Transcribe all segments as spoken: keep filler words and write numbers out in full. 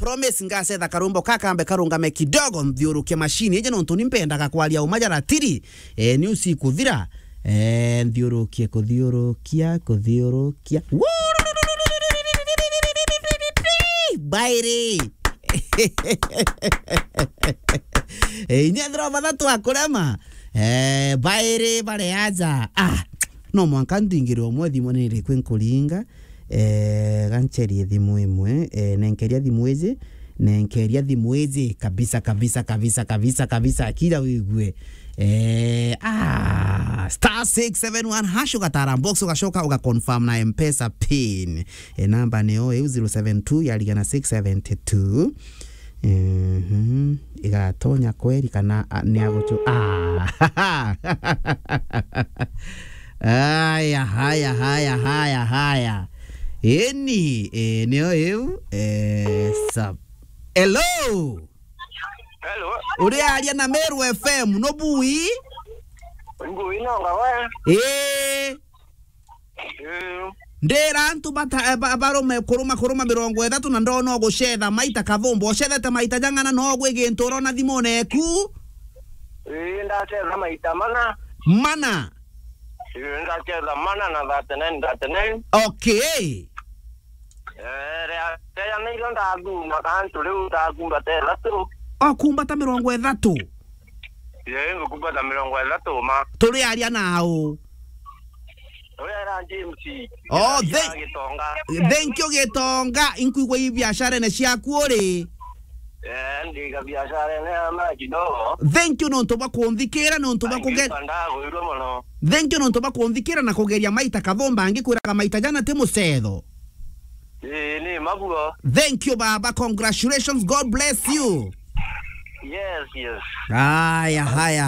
Promise ngacetha karumbo kakambe karungame kidogo, nthiurukie machine ije, nontu ni mpendaga kwaria uma jaratiri. Eh, ni usiku thira. Eh, nthiurukie, kuthiurukia, kuthiurukia. Bairi. Eh, inya thira bathatu akurema. Eh, bairi bare aja. Ah, no mwanka ndingire umwe thimu ni iriku nkuringa. Eh, gancherie thimu imwe. Eh, nenkeria thimu iji. Nenkeria thimu iji. Kabisa, kabisa, kabisa, kabisa, kabisa. Kira wigue. Eh, ah, star six seven one hash ugatara box, ugacoka ugaconfirm na M-Pesa pin. Eh, namba niyo iu zero seven two yarigana six seventy two. Mhm. Igatonya kweri kana, a, ni aguchu-, ah. Haya, haya, haya, haya, haya. Eni, eh, niyo iu, eh, sub-, hello? Hello? Uri aria na Meru F M, no bui? Ngui no ngawe? Eh. Eh. Ndira antu bata-, eh, ba-, barume kuruma, kuruma mirongo ithatu na ndona ugucetha maita kathumba. Ucethete maita jang'ana, no ugwi gintu urona thimune eku? Eh, ndacetha maita mana. Mana? Eh, ndacetha mana na thirty-nine, thirty-nine. Okay. Eh, ria, ria nairo ndathuma kantu riu ndakumbata ithatu. Okumbata mirongo ithatu? Ye, ngukumbata mirongo ithatu ma. Turi aria nau? Uria era James. Oh, ya thank, Gitonga. Thank you, Gitonga. Inkuigua i biasharene ciaku uri. Eh, ndi ga biasharene ya maji kidogo. Thank you nontu bwa kunthikira, nontu bwa kuge-, ndagwirwe mono. Thank you nontu bwa kunthikira na kugeria maita kathumba, ngikwiraga maita jana ti mucetho. Ii, ni mabuo. Thank you, baba. Congratulations. God bless you. Yes, yes. Haya, haya,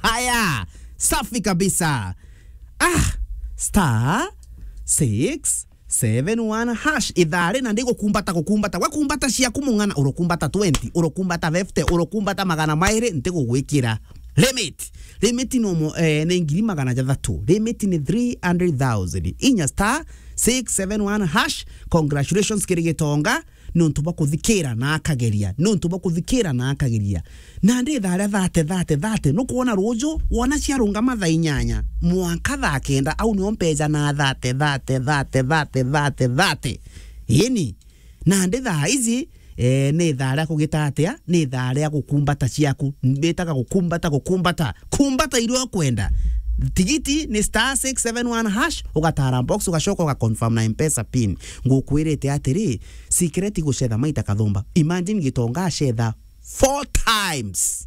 haya. Safi kabisa. Ah, star six seven one hash. Ithari na ndigukumbata, gukumbata. Wakumbata ciaku mung'ana, urukumbata twenty, urukumbata fifty, urukumbata magana mairi, ntigugwikira. Limit. Limit no mo-, eh, ni ngiri magana jathatu. Limit ni three hundred thousand. Inya star six seven one hash. Congratulations kiri Gitonga. Nontu bwa kuthikira na akageria. Nontu bwa kuthikira na akageria. Na ndi thaa ria thate, thate, thate. Nukwona ruju, wona ciarungama thaa inyanya. Mwanka thaa kenda, au nio mpeja na thate, thate, thate. Ini. Nandi thaa iji, eh, ni thaa ria kugita atia? Ni thaa ria gukumbata ciaku. Mbitaga gukumbata, gukumbata. Kumbata iria ukwenda. Tigiti ni star six seven one hash, ugatara box, ugacoka ugaconfirm na M-Pesa pin. Ngukwirite atiri, secret gucetha maita kathumba. Imagine Gitonga acetha four times.